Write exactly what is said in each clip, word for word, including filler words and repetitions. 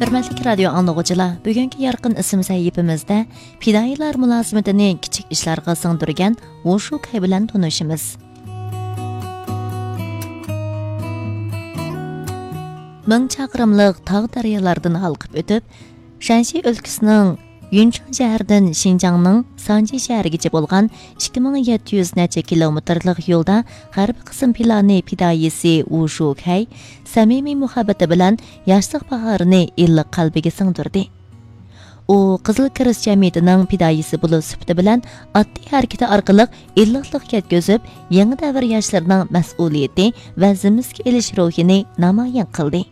ھۆرمەتلىك رادىيو ئاڭلىغۇچىلار، بۈگۈنكى يارقىن ئىسىم سەھىپىمىزدە پىدائىيلار مۇلازىمىتىنى كىچىك ئىشلارغا سىڭدۈرگەن ۋۇشۇ كەي بىلەن تونۇشىمىز. مىڭ چاقىرىملىق تاغ دەريالاردىن ھالقىپ ئۆتۈپ، شەنشى ئۆلكىسىنىڭ يۈنچۇڭ شەھىرىدىن شىنجاڭنىڭ سانجى شەھىرىگىچە بولغان ئىككى مىڭ يەتتە يۈز نەچچە كىلومېتىرلىق يولدا غەربىي قىسىم پىلانى پىدائىيسى ۋۇشۇ كەي سەمىمىي مۇھەببىتى بىلەن ياشلىق باھارىنى ئىللىق قەلبىگە سىڭدۈردى. ئۇ قىزىل كىرېست جەمئىيىتىنىڭ پىدائىيسى بولۇش سۈپىتى بىلەن ئاددىي ھەرىكىتى ئارقىلىق ئىللىقلىق يەتكۈزۈپ، يېڭى دەۋر ياشلىرىنىڭ مەسئۇلىيىتى ۋە زىممىسىگە ئېلىش روھىنى نامايان قىلدى.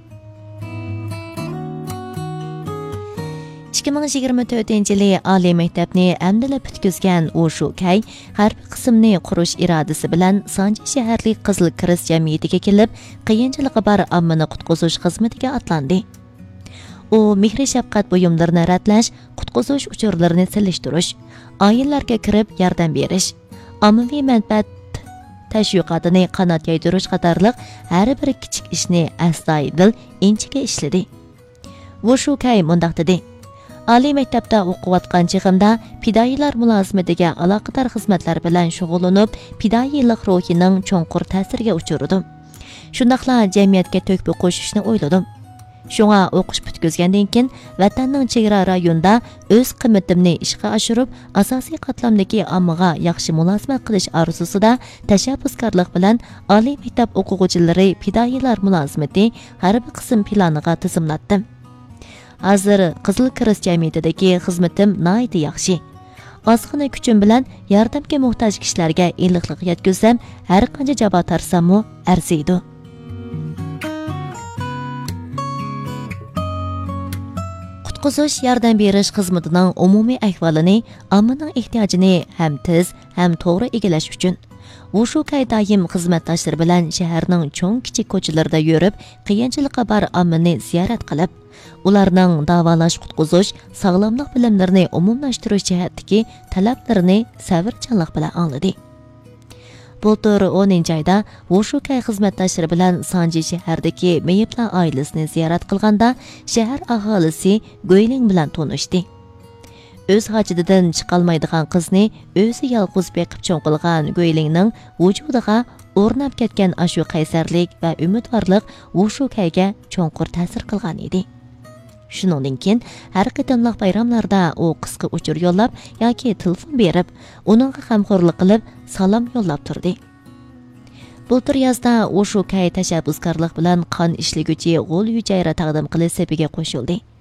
ئىككى مىڭ يىگىرمە تۆتىنچى يىلى ئالىي مەكتەپنى ئەمدىلا پۈتكۈزگەن ۋۇشۇ كەي ھەربىي قىسىمنى قۇرۇش ئىرادىسى بىلەن سانجى شەھەرلىك قىزىل كىرېست جەمئىيىتىگە كېلىپ، قىيىنچىلىقى بار ئاممىنى قۇتقۇزۇش خىزمىتىگە ئاتلاندى. ئۇ مېھرى-شەپقەت بۇيۇملىرىنى رەتلەش، قۇتقۇزۇش ئۇچۇرلىرىنى سېلىشتۇرۇش، ئائىلىلەرگە كىرىپ ياردەم بېرىش، ئاممىۋى مەنپەئەت تەشۋىقاتىنى قانات يايدۇرۇش قاتارلىق ھەر بىر كىچىك ئىشنى ئەستايىدىل، ئىنچىكە ئىشلىدى. ۋۇشۇ كەي مۇنداق دېدى: ئالىي مەكتەپتە ئوقۇۋاتقان چېغىمدا پىدائىيلار مۇلازىمىتىگە ئالاقىدار خىزمەتلەر بىلەن شۇغۇللىنىپ، پىدائىيلىق روھىنىڭ چوڭقۇر تەسىرىگە ئۇچرىدىم. شۇنداقلا جەمئىيەتكە تۆھپە قوشۇشنى ئويلىدىم. شۇڭا ئوقۇش پۈتكۈزگەندىن كېيىن، ۋەتەننىڭ چېگرا رايونىدا ئۆز قىممىتىمنى ئىشقا ئاشۇرۇپ، ئاساسىي قاتلامدىكى ئاممىغا ياخشى مۇلازىمەت قىلىش ئارزۇسىدا تەشەببۇسكارلىق بىلەن ئالىي مەكتەپ ئوقۇغۇچىلىرى پىدائىيلار مۇلازىمىتى ھەربىي قىسىم پىلانىغا تىزىملاتتىم. ھازىر قىزىل كىرېست جەمئىيىتىدىكى خىزمىتىم ناھايىتى ياخشى. ئازغىنە كۈچۈم بىلەن ياردەمگە موھتاج كىشىلەرگە ئىللىقلىق يەتكۈزسەم، ھەرقانچە جاپا تارتساممۇ ئەرزىيدۇ. قۇتقۇزۇش ياردەم بېرىش خىزمىتىنىڭ ئومۇمىي ئەھۋالىنى، ئاممىنىڭ ئېھتىياجىنى ھەم تېز، ھەم توغرا ئىگىلەش ئۈچۈن، ۋۇشۇ كەي دائىم خىزمەتداشلىرى بىلەن شەھەرنىڭ چوڭ-كىچىك كوچىلىرىدا يۈرۈپ، قىيىنچىلىقى بار ئاممىنى زىيارەت قىلىپ، ئۇلارنىڭ داۋالاش-قۇتقۇزۇش، ساغلاملىق بىلىملىرىنى ئومۇملاشتۇرۇش جەھەتتىكى تەلەپلىرىنى سەۋرچانلىق بىلەن ئاڭلىدى. بۇلتۇر ئونىنچى ئايدا ۋۇشۇ كەي خىزمەتداشلىرى بىلەن سانجى شەھەردىكى مېيىپلار ئائىلىسىنى زىيارەت قىلغاندا، شەھەر ئاھالىسى گۇيلىڭ بىلەن تونۇشتى. ئۆز ھاجىتىدىن چىقالمايدىغان قىزنى ئۆزى يالغۇز بېقىپ چوڭ قىلغان گۇيلىڭنىڭ ۋۇجۇدىغا ئورناپ كەتكەن ئاشۇ قەيسەرلىك ۋە ئۈمىدۋارلىق ۋۇشۇ كەيگە چوڭقۇر تەسىر قىلغان ئىدى. شۇنىڭدىن كېيىن ھەر قېتىملىق بايراملاردا ئۇ قىسقا ئۇچۇر يوللاپ ياكى تېلېفون بېرىپ، ئۇنىڭغا غەمخورلۇق قىلىپ، سالام يوللاپ تۇردى. بۇلتۇر يازدا ۋۇشۇ كەي تەشەببۇسكارلىق بىلەن قان ئىشلىگۈچى غول يۈجەيرا تەقدىم قىلىش سېپىگە قوشۇلدى.